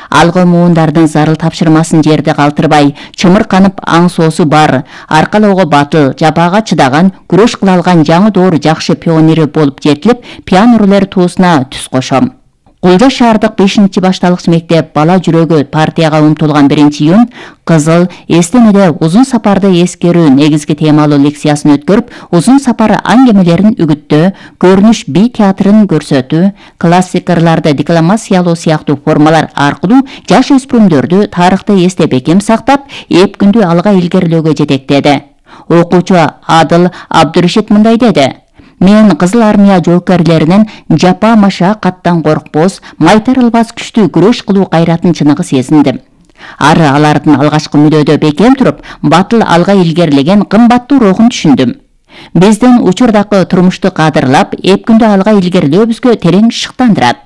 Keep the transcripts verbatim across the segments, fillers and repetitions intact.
Алга муундардын зарыл тапшырмасын жерде калтырбай, чымырканып аң соосу бар, аркалоого батыл, жапаага чыдаган, күрөш кыла алган жаңы доор жакшы пионери болуп жетилип, пионерлер туусуна түз кошом. Кулжа шаардык бешинчи башталгыч мектеп бала жүрөгү партияга умтулган биринчи июнь кызыл эстемеде узун сапарды эскерүү негизги темалуу лекциясын өткөрүп, узун сапар аңгемелерин үгүттөө, көрүнүш би театрын көрсөтүү, классик ырларды декламациялоо сыяктуу формалар аркылуу жаш өспүрүмдөрдү тарыхты эсте бекем сактап, эп күндү алга илгерилөөгө жетектеди. Окуучу Адыл Абдурашид мындай деди: Мен Кызыл армия жоокерлеринин жапа машакаттан коркпос, майтарылбас күчтүү күрөш кылуу кайратын чыныгы сезиндим. Ары алардын алгачкы мүнөдө бекем туруп, батыл алга илгерилеген кымбаттуу рухун түшүндүм. Биздин учурдагы турмушту кадырлап, эп күндө алга илгерилөөбүзгө терең шыктандырат.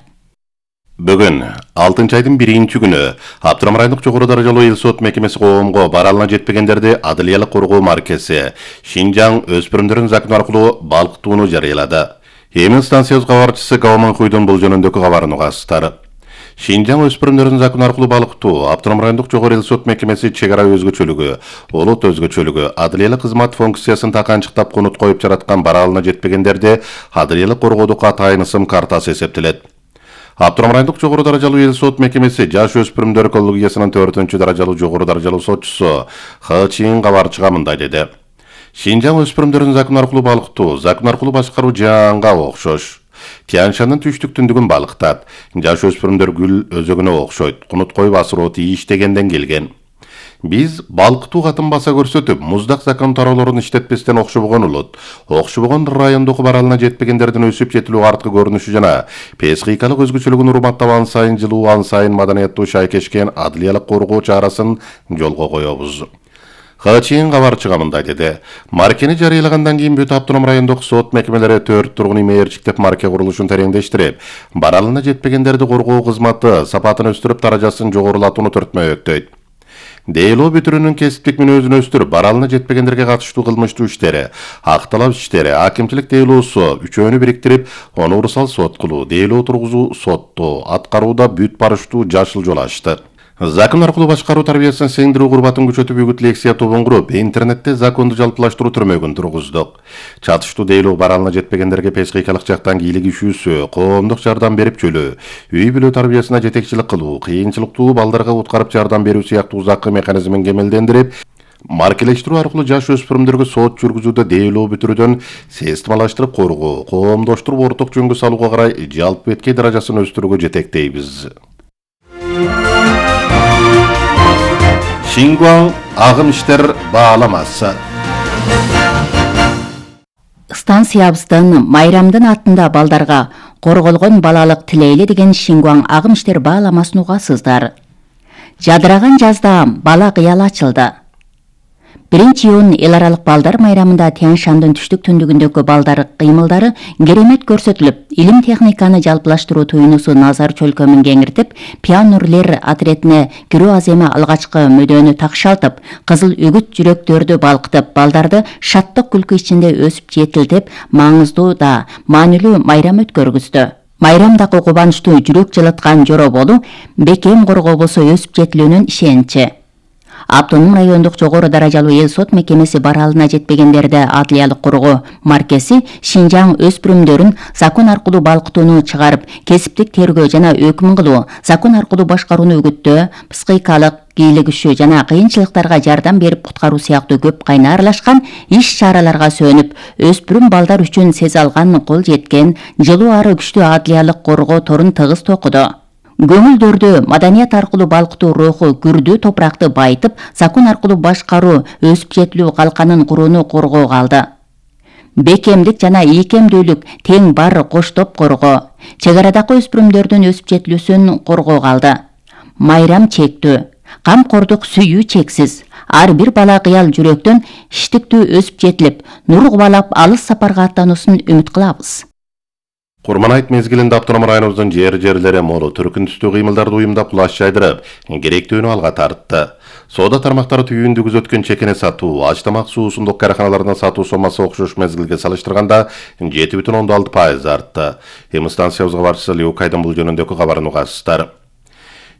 Бүгүн алтынчы айдын биринчи күнү Абдурахман райондук жогору даражалуу эл сот мекемеси коомго баралына жетпегендерди адылиялык коргоо маркеси Шинжаң өспүрүмдөрүн закон аркылуу балкытууну жарыялады. Эми станциябыз кабарчысы Каваман Куйдун бул жөнүндөгү кабарын угасыздар. Шинжаң өспүрүмдөрүн закон аркылуу балкытуу Абдурахман райондук жогору эл сот мекемеси чек ара өзгөчөлүгү, улут өзгөчөлүгү, адылиялык кызмат функциясын таканчыктап конут коюп жараткан баралына жетпегендерди адылиялык коргоодо катайын ысым картасы эсептелет. Абдурахман райондук жогору даражалуу эл сот мекемеси жаш өспүрүмдөр коллегиясынын төртүнчү даражалуу жогору даражалуу сотчусу Х Чин кабарчыга мындай деди: Шинжаң өспүрүмдөрүн закон аркылуу балкытуу, закон аркылуу башкаруу жаңга окшош. Тянь-Шаньдын түштүк-түндүгүн балкытат. Жаш өспүрүмдөр гүл өзөгүнө окшойт. Кунут коюп асыроо тийиштегенден келген. Биз балкытуу катын баса көрсөтүп, муздак закон тароолорун иштетпестен окшобогон улут, окшобогон райондогу баралына жетпегендердин өсүп жетилүү арткы көрүнүшү жана психикалык өзгөчөлүгүн урматтап ан сайын жылуу, ан сайын маданияттуу шайкешкен адылиялык коргоо чарасын жолго коебуз. Хачин кабарчыга мындай деди: Маркени жарыялагандан кийин бүт автоном райондук сот мекемелери төрт тургун үй мээрчиктеп марке курулушун тереңдештирип, баралына жетпегендерди коргоо кызматы сапатын өстүрүп, даражасын жогорулатууну төртмөйөктөйт. Дейлоо бүтүрүүнүн кесиптик мүнөзүн өстүрүп, баралына жетпегендерге катыштуу кылмыштуу иштери, ак талап иштери, акимчилик дейлоосу үчөөнү бириктирип, универсал сот кылуу, дейлоо тургузуу сотту аткарууда бүт барыштуу жашыл жол ачты. Закон аркылуу башкаруу тарбиясын сиңдирүү курбатын күчөтүп, үгүт лекция тобун куруп, интернетте законду жалпылаштыруу түрмөгүн тургуздук. Чатыштуу дейлөө баралына жетпегендерге психикалык жактан кийлигишүүсү, коомдук жардам берип чөлөө, үй бүлө тарбиясына жетекчилик кылуу, кыйынчылыктуу балдарга уткарып жардам берүү сыяктуу узаккы механизмин кемелдендирип, маркелештирүү аркылуу жаш өспүрүмдөргө сот жүргүзүүдө дейлөө бүтүрүүдөн системалаштырып коргоо, коомдоштуруп орток жөнгө салууга карай жалпы беткей даражасын өстүрүүгө жетектейбиз. Шингуаң агым иштер бааламасы. Станциябыздын майрамдын аттында балдарга корголгон балалык тилейли деген Шингуаң агым иштер бааламасын угасыздар. Жадыраган жазда бала кыял ачылды. биринчи июнь эл аралык балдар майрамында Тянь-Шаньдын түштүк-түндүгүндөгү балдар кыймылдары керемет көрсөтүлүп, илим техниканы жалпылаштыруу туюнусу назар чөлкөмүн кеңиртип, пионерлер отрядине кирүү аземи алгачкы мүдөнү такшалтып, кызыл үгүт жүрөктөрдү балкытып, балдарды шаттык күлкү ичинде өсүп жетилтип, маңыздуу да маанилүү майрам өткөргүздү. Майрамдагы кубанычтуу жүрөк жылыткан жоро болуу бекем коргообосо өсүп жетилүүнүн ишеничи. Автоном райондук жогору даражалуу эл сот мекемеси баралына жетпегендерди адылиялык коргоо маркеси Шинжаң өспүрүмдөрүн закон аркылуу балкытууну чыгарып, кесиптик тергөө жана өкүм кылуу, закон аркылуу башкарууну үгүттөө, психикалык кийлигишүү жана кыйынчылыктарга жардам берип куткаруу сыяктуу көп кайна аралашкан иш-чараларга сөнүп, өспүрүм балдар үчүн сезе алган, кол жеткен, жылуу ары күчтүү адылиялык коргоо торун тыгыз токуду. Көңүлдөрдү маданият аркылуу балкытуу руху күрдүү топуракты байытып, закон аркылуу башкаруу, өсүп жетилүү калканын курууну коргоого алды. Бекемдик жана ийкемдүүлүк тең бар коштоп коргоо, чек арадагы өспүрүмдөрдүн өсүп жетилүүсүн коргоого алды. Майрам чектүү, камкордук сүйүү чексиз. Ар бир бала кыял жүрөктөн иштиктүү өсүп жетилип, нур кубалап алыс сапарга аттануусын үмүт кылабыз. Курман айт мезгилинде автоном районубуздун жер-жерлери молу түркүн түстүү кыймылдарды уюмдап кулаш жайдырып, керектүүнү алга тартты. Соода тармактары түйүндү күзөткөн чекене сатуу, аш тамак суусундук караханаларына сатуу сомасы окшош мезгилге салыштырганда жети бүтүн ондон алты пайыз артты. Эми станциябызга барчысы Леукайдын бул жөнүндөгү кабарын угасыздар.